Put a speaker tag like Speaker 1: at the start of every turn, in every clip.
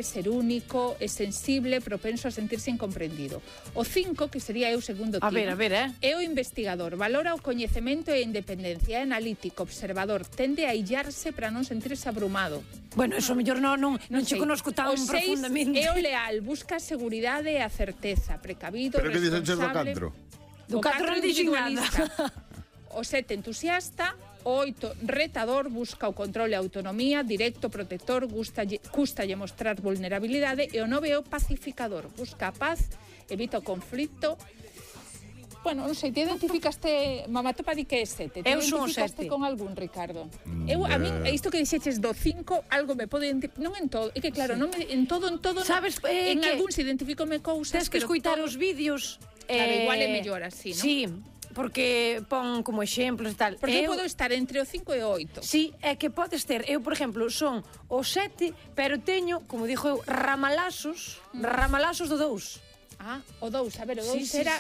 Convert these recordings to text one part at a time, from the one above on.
Speaker 1: ser único, é sensible, propenso a sentirse incomprendido. O 5, que sería o segundo tipo, é o investigador, valora o coñecemento e a independencia, é analítico, observador, tende a illarse para non sentirse abrumado.
Speaker 2: Bueno, eso mellor non che conozco tan profundamente.
Speaker 1: O 6 é o leal, busca a seguridade e a certeza, precavido,
Speaker 3: pero
Speaker 1: responsable.
Speaker 3: Pero que dixen
Speaker 2: Do
Speaker 3: do 4?
Speaker 2: 4 non dixen nada.
Speaker 1: O 7, entusiasta. O 8, retador, busca o control e a autonomía, directo, protector, custalle mostrar vulnerabilidade. E o 9 é o pacificador, busca a paz, evita o conflito. Bueno, non sei, te identificaste, Mamatopa di que é 7. Te identificaste con algún, Ricardo? A mí, isto que dixeches do 5, algo me pode identificar, non en todo, é que claro, non en todo,
Speaker 2: sabes,
Speaker 1: en algún se identificome cousas.
Speaker 2: Tens que escoitar os vídeos.
Speaker 1: Claro, igual é mellor así, non?
Speaker 2: Sí, porque pon como exemplos e tal.
Speaker 1: Porque eu podo estar entre o 5 e o 8.
Speaker 2: Sí, é que podes ter, eu, por exemplo, son o 7, pero teño, como dixo eu, ramalazos do 2.
Speaker 1: O 2, a ver, o 2 era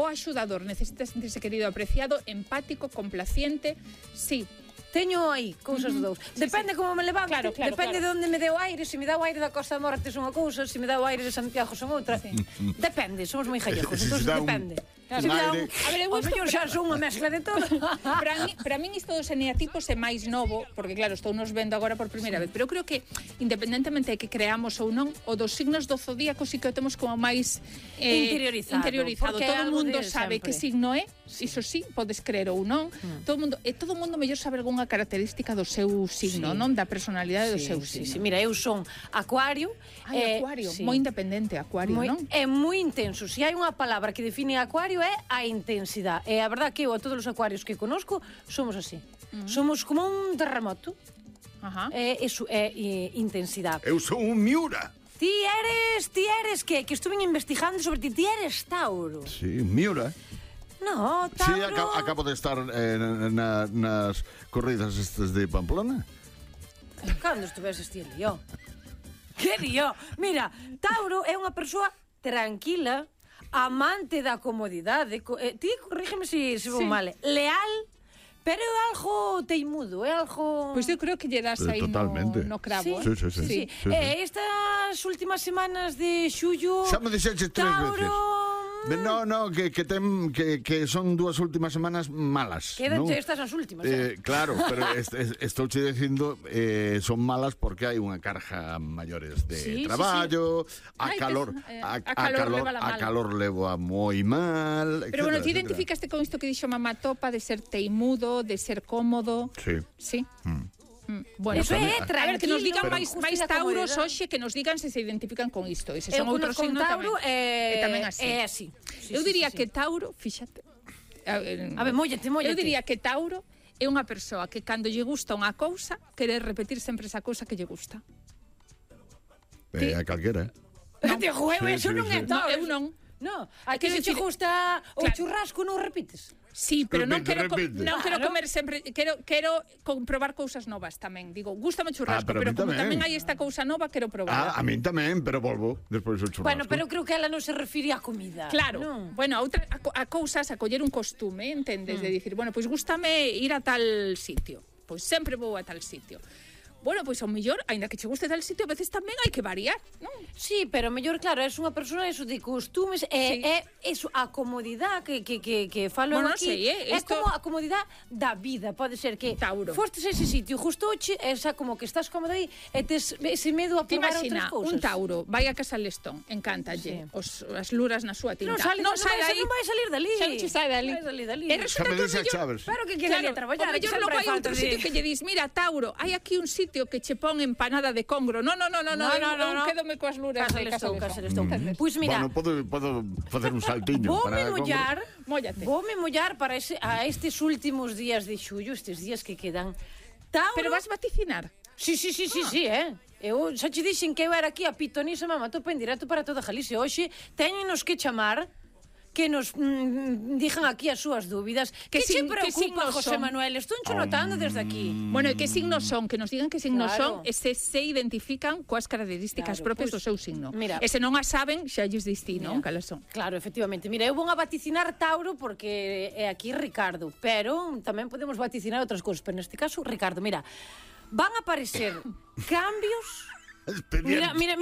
Speaker 1: o axudador, necesita sentirse querido, apreciado, empático, complaciente, sí.
Speaker 2: Teño aí cousas do 2. Depende como me levante, depende de onde me deu aire. Se me dá o aire da Costa da Morte son unha cousa, se me dá o aire de Santiago son outra. Depende, somos moi gallegos, entón depende.
Speaker 1: A ver,
Speaker 2: o mellor xa son unha mezcla de todo.
Speaker 1: Para min isto dos eneatipos é máis novo, porque claro, estou nos vendo agora por primeira vez, pero creo que independentemente de que creamos ou non, o dos signos do zodíaco sí que o temos como máis interiorizado. Todo o mundo sabe que signo é, iso sí, podes creer ou non. Todo o mundo mellor sabe algunha característica do seu signo, non? Da personalidade do seu signo.
Speaker 2: Mira, eu son Acuario.
Speaker 1: Acuario, moi independente, Acuario, non?
Speaker 2: É moi intenso. Se hai unha palabra que define Acuario é a intensidade. E a verdad que eu a todos os acuarios que conozco somos así. Somos como un terremoto. Eso é intensidade.
Speaker 3: Eu son un Miura.
Speaker 2: Ti eres que estuve investigando sobre ti. Ti eres Tauro.
Speaker 3: Sí, Miura.
Speaker 2: No, Tauro...
Speaker 3: Sí, acabo de estar nas corridas estas de Pamplona.
Speaker 2: Cando estuveses ti lío? Que lío? Mira, Tauro é unha persoa tranquila, amante da comodidade, ti corrígeme se vou mal, leal, pero é algo teimudo, é algo...
Speaker 1: Pois eu creo que lle das aí no cravo.
Speaker 3: Sí.
Speaker 2: Estas últimas semanas de xullo...
Speaker 3: Xa me dixeches 3 veces. No, que son 2 últimas semanas malas.
Speaker 2: Quédanche estas as últimas.
Speaker 3: Claro, pero estou che dicindo son malas porque hai unha carga maiores de traballo, a calor levo a moi mal,
Speaker 1: pero bueno, ti identificaste con isto que dixo Mamatopa de ser teimudo, de ser cómodo.
Speaker 3: Sí.
Speaker 1: Bueno,
Speaker 2: eso é tranquilo.
Speaker 1: A ver, que nos digan máis tauros hoxe, que nos digan se identifican con isto. E se son outros signos tamén así.
Speaker 2: É así.
Speaker 1: Eu diría que Tauro, fíxate.
Speaker 2: A ver, móllate.
Speaker 1: Eu diría que Tauro é unha persoa que cando lle gusta unha cousa, quere repetir sempre esa cousa que lle gusta.
Speaker 3: A calquera.
Speaker 2: Eso non é Tauro.
Speaker 1: Eu non.
Speaker 2: No, a que se che gusta o churrasco non repites.
Speaker 1: Sí, pero non quero comer sempre, quero comprobar cousas novas tamén. Digo, gústame o churrasco, pero como tamén hai esta cousa nova, quero probar.
Speaker 3: A min tamén, pero volvo despois o churrasco.
Speaker 2: Bueno, pero creo que ela non se refire á comida.
Speaker 1: Claro. Bueno, a cousas, a coller un costume, entendes? De dicir, bueno, pois gústame ir a tal sitio. Pois sempre vou a tal sitio. Bueno, pois ao mellor, aínda que che guste tal sitio, a veces tamén hai que variar, non?
Speaker 2: Sí, pero mellor, claro, és unha persona eso de costumes, é eso, a comodidade que falo aquí, é como a comodidade da vida, pode ser que fostes a ese sitio, justo hoxe, esa como que estás cómodo aí, e tes ese medo a probar outras cousas.
Speaker 1: Un Tauro, vai a Casa Lestón, encántalle, as luras na súa tinta.
Speaker 2: Non vai salir dali.
Speaker 1: Xa non che sai dali.
Speaker 2: E resulta que pero que quere a traballar.
Speaker 1: O mellor logo hai outro sitio que lle dis, mira, Tauro, hai aquí un sitio que che pon empanada de congro. No, eu quédome coas luras de Casa Lestón.
Speaker 2: Pois mira,
Speaker 3: podo facer un saltiño para
Speaker 2: Voume mollar para estes últimos días de xullo, estes días que quedan. Tauro...
Speaker 1: Pero vas vaticinar?
Speaker 2: Sí, Eu xa che dixen que eu era aquí a pitonisa Mamatopa en directo para toda Galicia. Hoxe teñenos que chamar, que nos digan aquí as súas dúbidas. Que se preocupa, José Manuel? Estou notando desde aquí.
Speaker 1: Bueno, e que signos son? Que nos digan que signos son e se identifican coas características propias do seu signo. E se non as saben, xa lles distí, non? Calas son.
Speaker 2: Claro, efectivamente. Mira, eu vou a vaticinar Tauro porque é aquí Ricardo, pero tamén podemos vaticinar outras cousas. Pero neste caso, Ricardo, mira, van a aparecer cambios
Speaker 3: expediente.
Speaker 2: Mira